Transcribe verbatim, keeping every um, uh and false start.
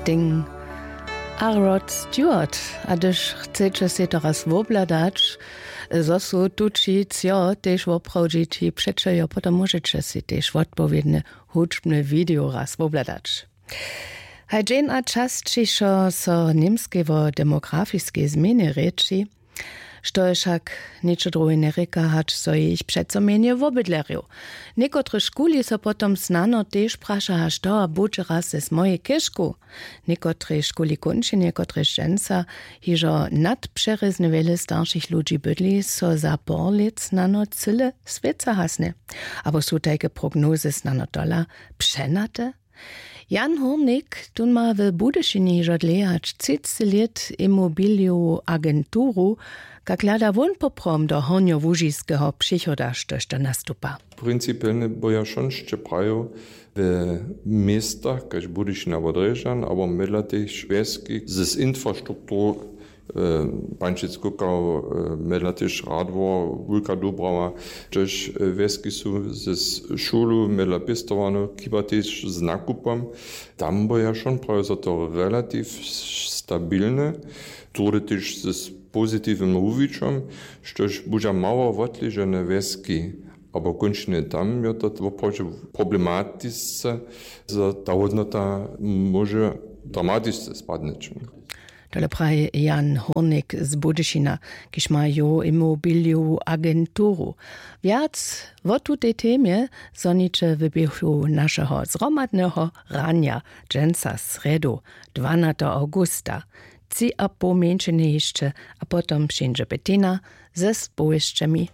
Sting a Rod Stewart. A hdyž chceće sej to raz wobhladać, zo su tući cjo tež woprawdźići, přećeljo, potom móžeće sej tež wotpowědne hudźbne video raz wobhladać. Haj dźeń a časćišo so němskej wo demografiskej změnje rěči, što je wšak něčo druhe njerěka, hač so jich přeco mjenje wobydlerjow. Někotrež škuli so potom snano tež praša, hač to a budźe raz z mojej chěžku. Někotrež škuli kónčenje, kotrež dźensa hižo nadpřerězny wjele staršich ludźi bydli, so za por lět snano cyle swěca hasnje. Abo su tajke prognozy snano tola přenate? Jan Hórnik tón ma w Budyšinje hižo dlěje hač třiceći lět imobilijowu agenturu, kak hlada wón poprawom do hornjołužiskeho přichoda, štož to nastupa? Principielnje by ja wšončce prajił, w městach kaž Budyšin abo Drježdźan abo mjedla tež wjeski z infrastrukturu, Pančic Kukał, mjedla tež Radwor, Wulka Dubrawa, hdźež wjeski su z šulu, mjedla pěstowarnjow, chiba tež z nakupom. Tam by ja wšon prajił, zo to relativ stabilne, druhdy tež z pozitiwnym wuwićom, štož budźa mało wotležene wjeski abo kónčnje, tam je to woprawdźe problematisce, zo ta hódnota móže dramatisce spadnyć. Tole praji Jan Hórnik z Budyšina, kiž ma jow imobilijowu agenturu. Wjac wo tutej temje zhoniće w běhu našeho zhromadneho ranja dźensa srjedu, dwanateho awgusta. Tři a poł mjeńšiny hišće, a potom přińdźe Bettina ze spowěsćemi.